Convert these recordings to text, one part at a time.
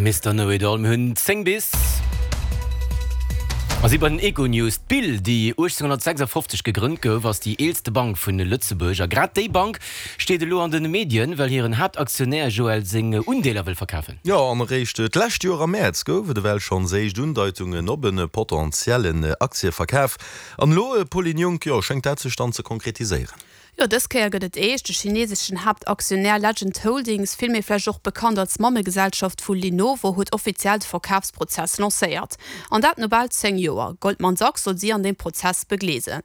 Mister Know It All. Mir hunn 10 bis a si bei den Econews. D'BIL, déi 1856 gegrënnt gouf, ass déi eelste Bank vun Lëtzebuerg. A grad déi Bank steet elo an de Medien, well hiren Haaptaktionär Joël seng Undeeler wëll verkafen. Jo, an eréischt d'lescht Joer am Mäerz gouf et ewell schonns éischt Undeitungen op e potentiellen Aktieverkaf. An elo, Pauline Junck, jo, schéngt dat sech dann ze konkretiséieren. Jo, dës Kéier gëtt et eescht. De chineseschen Haaptaktionär Legend Holdings, vill méi vläicht och bekannt als Mammegesellschaft vu Lenovo, huet offiziell de Verkafsprozess lancéiert. An dat no bal 10 Joer. Goldman Sachs soll si an deem Prozess begleeden.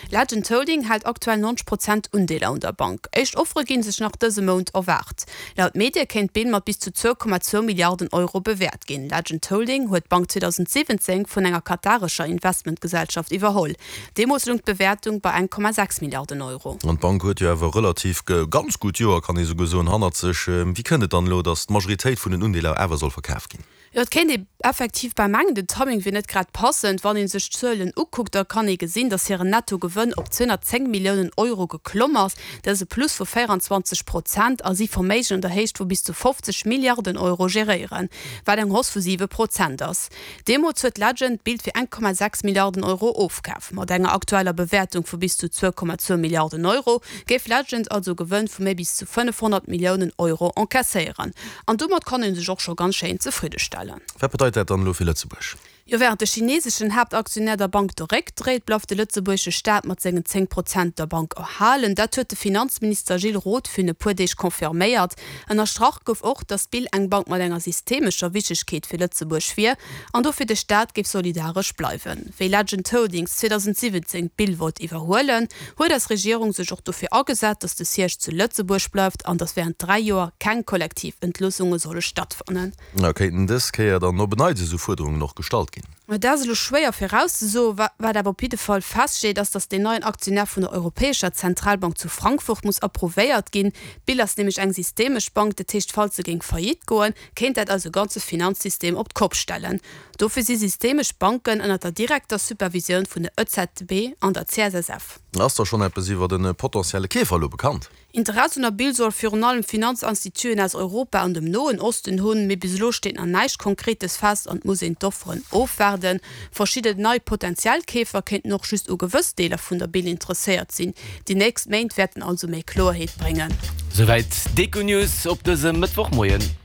Legend Holding hält aktuell 90 Prozent Undeeler un der Bank. Éischt Offere gi sech nach dëse Mount erwaart. Laut Medie kéint d'Bill mat bis zu 2,2 Milliarden Euro bewäert ginn. Legend Holding huet d'Bank 2017 vun enger katarescher Investmentgesellschaft iwwerholl. Deemools loung d'Bewäertung bei 1,6 Milliarden Euro. An d'Bank huet jo awer e relativ ganz gutt Joer, kann ee souguer soen, hannert sech. Wéi kënnt et dann elo, datt d'Majoritéit vun den Undeeler awer soll verkaf ginn? Jo, et kéint ee effektiv bal mengen, den Timing wier net grad passend. Wann ee sech d'Zuelen ukuckt, da kann ee gesinn, datt hiren Nettogewënn op 210 Milliounen Euro geklomm ass. Dat ass e Plus vu 24 Prozent a si Verméigen an der Héicht vu bis zu 50 Milliarden Euro geréieren, wat eng Hausse vu 7 Prozent ass. Deemools huet Legend d'Bild fir 1,6 Milliarden Euro ofkaf. Mat enger aktueller Bewäertung vu bis zu 2,2 Milliarden Euro géif Legend also e Gewënn vu méi bis zu 500 Milliounen Euro encaisséieren. An domat kann ee sech och scho ganz schéin zefridde stellen. Wat bedeit dat dann elo fir Lëtzebuerg? Jo, wärend de chineseschen Haaptaktionär der Bank de Réck dréit, bleift de lëtzebuergesche Staat mat sengen 10 Prozent der Bank erhalen. Dat huet de Finanzminister Gilles Roth virun e puer Deeg confirméiert. Ënnerstrach gouf och, datt d'BIL eng Bank mat enger systemescher Wichtegkeet fir Lëtzebuerg wier an dofir de Staat géif solidaresch bleiwen. Wéi Legend Holdings 2017 d'BIL wollt iwwerhuelen, huet eis Regierung sech och dofir agesat, datt de Siège zu Lëtzebuerg bleift an datt wärend 3 Joer keng kollektiv Entloossunge solle stattfannen. Kéinten dës Kéier dann op en Neits esou Fuerderungen och gestallt ginn? Dat ass elo schwéier virauszesoen. Wat awer op jidde Fall feststeet, ass, datt deen neien Aktionär vun der Europäescher Zentralbank zu Frankfurt muss approuvéiert ginn. D'BIL ass nämlech eng systemesch Bank, dat heescht, falls se géing faillite goen, kéint dat eise ganze Finanzsystem op d'Kopp stellen. Dofir si systemesch Banken ënner der direkter Supervisioun vun der EZB an der CSSF. Ass da schonn eppes iwwer e potentielle Keefer elo bekannt? Interesse un der Bill soll virun allem Finanzinstituten aus Europa an dem Noen Osten hunn, mee bis elo steet nach näischt Konkretes fest an et muss een d'Offeren ofwaarden. Verschidden nei potentiell Keefer kéinten och just u gewëss Deeler vun der Bill interesséiert sinn. Déi nächst Méint wäerten also méi Kloerheet bréngen. Souwäit d'Econews op dësem Mëttwochmoien.